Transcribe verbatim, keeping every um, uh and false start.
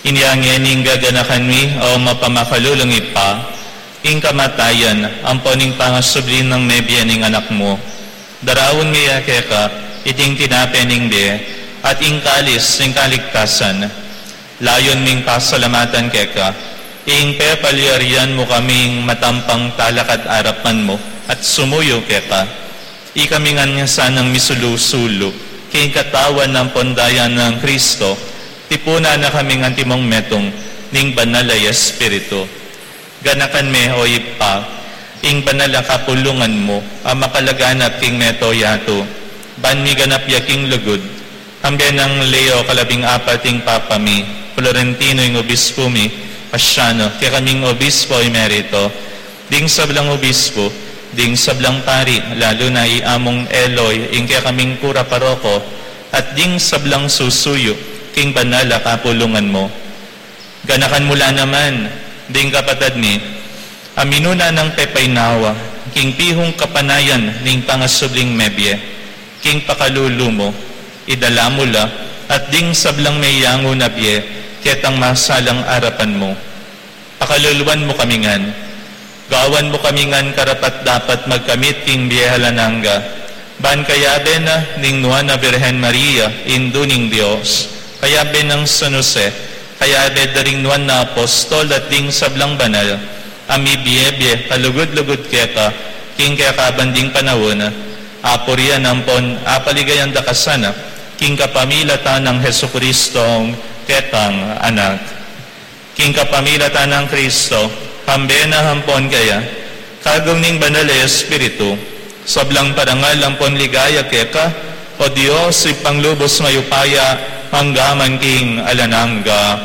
Inya ngeni gaganakan mi, o mapamakalulung Ibpa, ing kamatayan ampon ing pangasubli nang mebie ning Anak mu. Daraun mi ya keka iting tinape ning bie at ing kalis ning kaligtasan. Layun ming pasalamatan keka ing pepalyarian mu kaming matampang talakad arapan mu at sumuyu keka. Ikami ngan sanang misulu-sulu king katawan ampon daya nang Kristo, tipunan na kami ngan timong metung ning Banal a Espiritu. Ganakan me, o Ibpa, ing banal a kapulungan mu a makalaganap king mabilug a yatu. Ban miganap ya king lugud, kambe nang Leo kalabing apat ing Papa mi, Florentino ing Obispo mi, Paciano, kekaming Obispo Emerito, ding sablang obispo, ding sablang pari, lalu na i Among Eloy, ing kekaming kura paroko, at ding sablang susuyu king banal a kapulungan mu. Ganakan mu la naman ding kapatad mi a minuna nang pepainawa king pihung kapanayan ning pangasubling mebie, king pakalulu mu, idala mu la, at ding sablang meyangu na bie ketang masalang arapan mu. Pakaluluan mu kami ngan. Gawan mu kami ngan karapat-dapat magkamit king bie alang angga. Ban kayabe na ning Nuan a Birhen Maria, Indu ning Dios, kayabe nang San Jose, kayabe da ring nuan a apostol at ding sablang banal a mibie-bie kalugud-lugud keka king kekabang ding panaun, apurian ampon apaligayan da ka sana king kapamilatan nang Jesucristong kekang Anak. King kapamilatan nang Kristo, kambe na ampon keya, kagum ning Banal a Espiritu, sablang parangal ampon ligaya keka, o Dios, Ibpang lubus mayupaya, mangga man king alang angga.